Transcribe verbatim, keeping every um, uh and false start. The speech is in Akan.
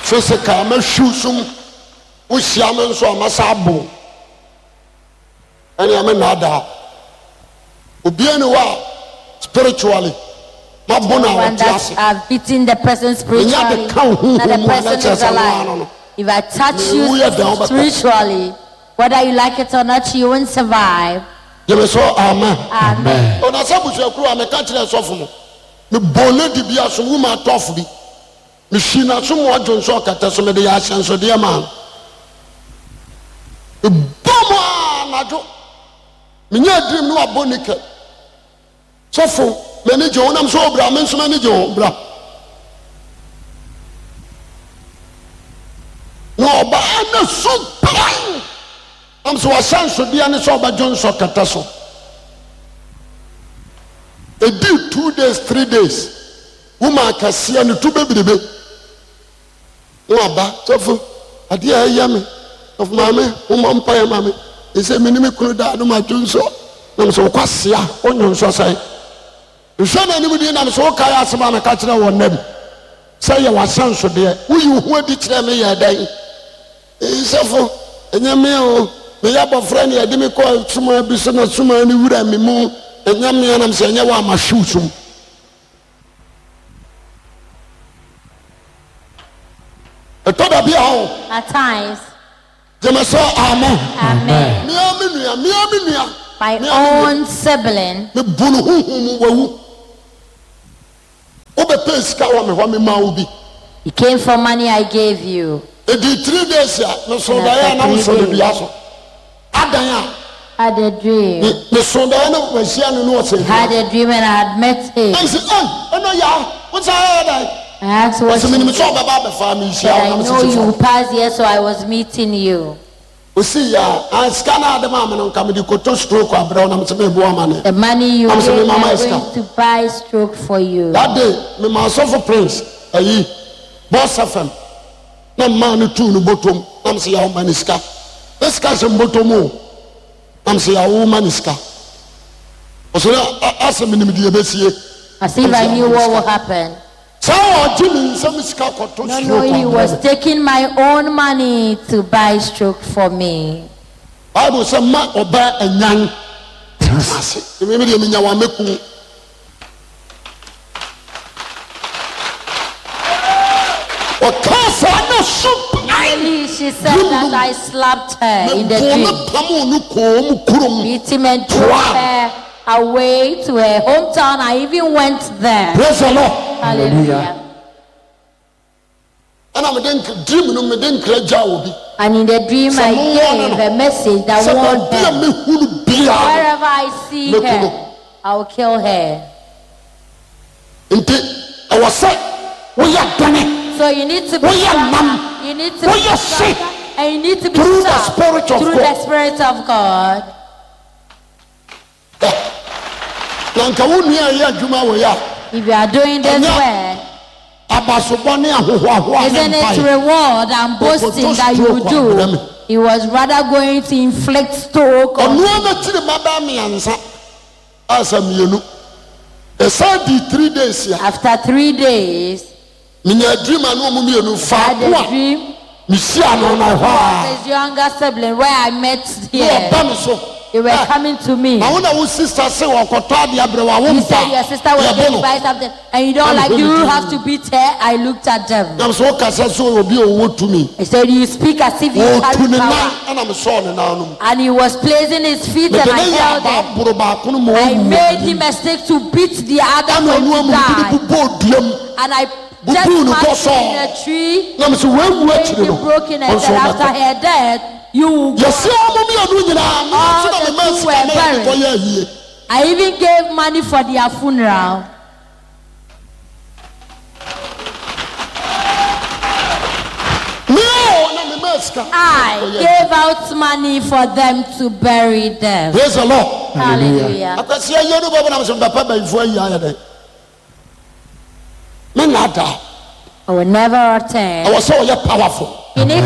Physical mɛhwiw sum. Wohyia me nso a mɛsa abo. Ɛnea me nnaadaa. Obiara ni hɔ a spiritually mabo no a One ɔte that ase. I've beaten the person Menya spiritually, de ka wo that the honhom mu a na person kyerɛ is sɛ no alive. ano no. If I touch you Mewu yɛ dɛn wobɛkɔ. spiritually, whether you like it or not, you won't survive. Gyeme so amen. Amen. Ɔna sɛ abusuakuro a meka kyerɛ sɔfo no, mebɔɔ lady bi asom, woman tɔfo bi. Mehwii n'asom mu ɔdwo nso ɔkɛtɛ so mede yɛ ahyɛnsodeɛ maa no. Mebɔɔ mu a anadwo. Menyaa dream ne wabɔ naked. Sɔfo, m'ani gye ho nam sɛ ɔbra, me nso m'ani gye ho, bra. Na ɔbaa na su pan. Nam sɛ wahyɛnsodeɛ ne sɛ ɔbɛdwo nsɔ kɛtɛ so. Ɛdii two days, three days. Woman kɛseɛ ne to bebrebe. Na waba, sɔfo, adeɛ a ɛyɛ me, sɔfo maame, mommɔ mpaeɛ ma me. Ɛsɛ me ne me kunu daa no madwo nsɔ. Nam sɛ wokwasia, wonwo nsɔ sɛn? Nhwɛ n'anim din nam sɛ wokae asɛm a meka kyerɛ wɔ nnam sɛ yɛ w'ahyɛnsodeɛ. Woyi wo ho adi kyerɛ me yɛ dɛn? Sɔfo, ɛnyɛ me o. Meyɛ abɔfra ne yɛde me kɔɔ sumaa bi so na sumaa no wura me mu. Ɛnyɛ me anam sɛ ɛnyɛ wo a mahwe wo sum. Ɛtɔ da bi a o. At times. Gyeme sɛ amen. Amen. Mea me nua, mea me nua. My own sibling. Me bu no huhu mu wawu. Wobɛpɛ sika wɔ me hɔ me ma wo bi. You came for money I gave you. Ɛdi three days a me so daeɛ a na me so ne dua so. Adan a. Had a dream. Me me so daeɛ na mahyia no no ɔsɛ dua. Had a dream and I had met him. Ɛnsi ɛy ɛnɔ yaa wosan ayɛ dɛn. I asked what Ɔsɛ menim sɛ ɔbɛba abɛfa me Said nhyia wo I na know mesese you will fam. pass here so I was meeting you. Osi ya ah sika na ade maa me no nka mede kɔtɔ stroke abrɛ wo na mesɛ mebo amane. The money you Na mesɛ gave me mema ma I'm sika. going to buy stroke for you. That day mema asɔfo prince ayi Boss F M na mmaa no tuu no bɔtɔm na mesɛ yaw ma ne sika. Ne sika hyɛ mbɔtɔm o. Na mesɛ yaw wo ma ne sika. Ɔsɛ na asɛ menim deɛ ɛbɛsie. As if I knew what would happen. Saa ɔgye me nsam sika kɔtɔ No, stroke no, he abrɛ was me. taking my own money to buy stroke for me. Bible sɛ ma ɔbaa anyan tena ase. Me deɛ menya wa mɛku. Ɔkaa saa na su pae. Immediately she said that I slapped her in the Mebɔɔ dream. no pamoo no kɔɔ mu kurom. Beat him and drove Toaa. her away to her hometown. I even went there. Praise the Lord. Hallelujah. Ɛna mede nk dream no mede nkra gyaa obi. And in the dream Sɛ I mowɔ no gave no a message that sɛ warned baabi a her. mehu no biara no Wherever I see mɛku her, no. I will kill her. Nti ɛwɔ sɛ woyɛ dene. So you need to be Woyɛ stronger. nam. You need to be Woyɛ hye. stronger. And you need to be Through the sharp spirit of through God. the Spirit of God. Na nka wo nua yɛ adwuma wɔ yɛ a. If you are doing this Ɛnyɛ work, abasobɔ ne ahohoahoa ne isn't it mpae. reward and boasting Ɔkɔtɔ that you stroke abrɛ do? me. He was rather going to inflict stroke on Ɔno ara n'akyiri mma bɛyɛ mmiɛnsa a sɛ mmienu. Ɛsan dii three days a. After three days, Menya dream a ne wɔn mmienu I had faako a a dream mehyia no no ɛhɔ a. of his younger sibling where I met Ne here. ɔba me so. They were Eh, coming to me. na wo na wo sister se wɔkɔtɔ adeɛ abrɛ wo a wo You said mpa your sister was yɛbo going to no. buy something and you don't Na like mehwɛ you ne have din. to beat her. I looked at them. Na sɛ wokasa sɛ obi a ɔwɔ tumi. I said you speak as if you Ɔtu carry ne nan power. ɛna mesɔɔ ne nan no mu. And he was placing his feet Mede and I ne yɛ held abaa them. boro baako no ma I ɔwu wɔ made m'anim. him a stick to beat the other Ɛna one ɔno to amu mede die. no bobɔɔ dua mu. And I just Bubuu no smashed him in bɔsɔɔ. a tree. Na mesɛ wawu Made akyiri him no broken and ɔnso said after ɔbɛkɔ. her death, you will go. Yɛsi wɔn mmienu nyinaa me All nso na the mema two sika were ma yɛde buried. kɔyɛ ayie. I even gave money for their funeral. Me o na mema sika I kɔyɛ ayie. gave out money for them to bury them. Praise the Lord. Hallelujah. Akwasi ayie no bɛbɛ na mesɛ mbɛpɛ bɛyifoɔ ayi ayɛ dɛ. Me nna da. I will never attend. Ɛwɔ sɛ ɔyɛ powerful. You need